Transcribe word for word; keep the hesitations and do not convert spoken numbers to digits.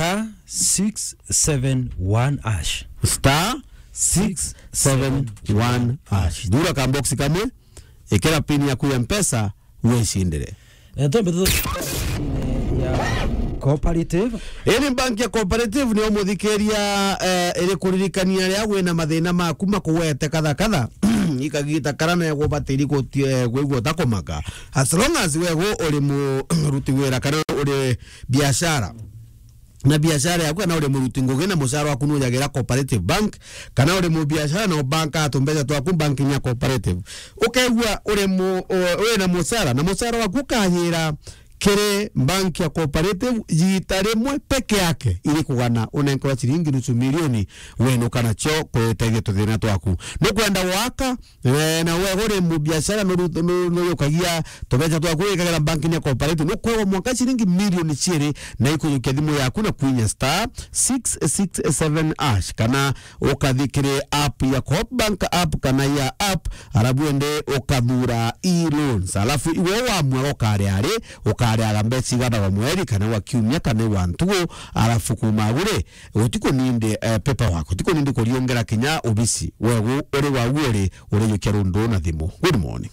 star six seven one hash. Star six seven one hash. Thura ka box kamwe, ikira pin yaku ya Mpesa, wicindire. Eh, twambe tu-, ya Cooperative. Ii ni bank ya Cooperative, ni umuthikiria, eh, iri kuririkania ria wina mathina maku makugwete kadha kadha. Ikagita kara na gubatiri guti-, eh, kwigua utakumaka. As long as we gu uri muruti wira kana uri biashara. Na biashara yaku, kana uri muruti ngugi na mucara waku nujagira Cooperative Bank, kana uri mu biashara na ubanka tumbeca twaku banking ya Cooperative. Ukegua uri mu-, u-, wina mucara, na mucara waku ukayira kiri bank ya Cooperative, jita rimwe peke yake, iri kugana unenkerwa ciringi nusu milioni, wenuka nacio kwitethia tuthina twaku. Nukwenda gwaka, eh, na we uri mu biashara, nuru-, nu-, nuyukagia tubeca twaku wikagira bank ya Cooperative, nukwegwa mwanka ciringi milioni ciiri, na ikujukia thimu yaku na kwinya star six six seven hash, kana ukathi kiri app ya Coop Bank app kana ya app, arabu ende ukathura e-loans. Alafu iwe wamua ukaria ari, ukariaga mbeca igana wa mweri, kana wa kiumia, kana wa ntugu, alafu kuma agure, utikunindi, eh, paperwork, utikunindi kuriongera kinya obisi. Wegu uri wagu uri, urijukia rundu na thimu. Good morning.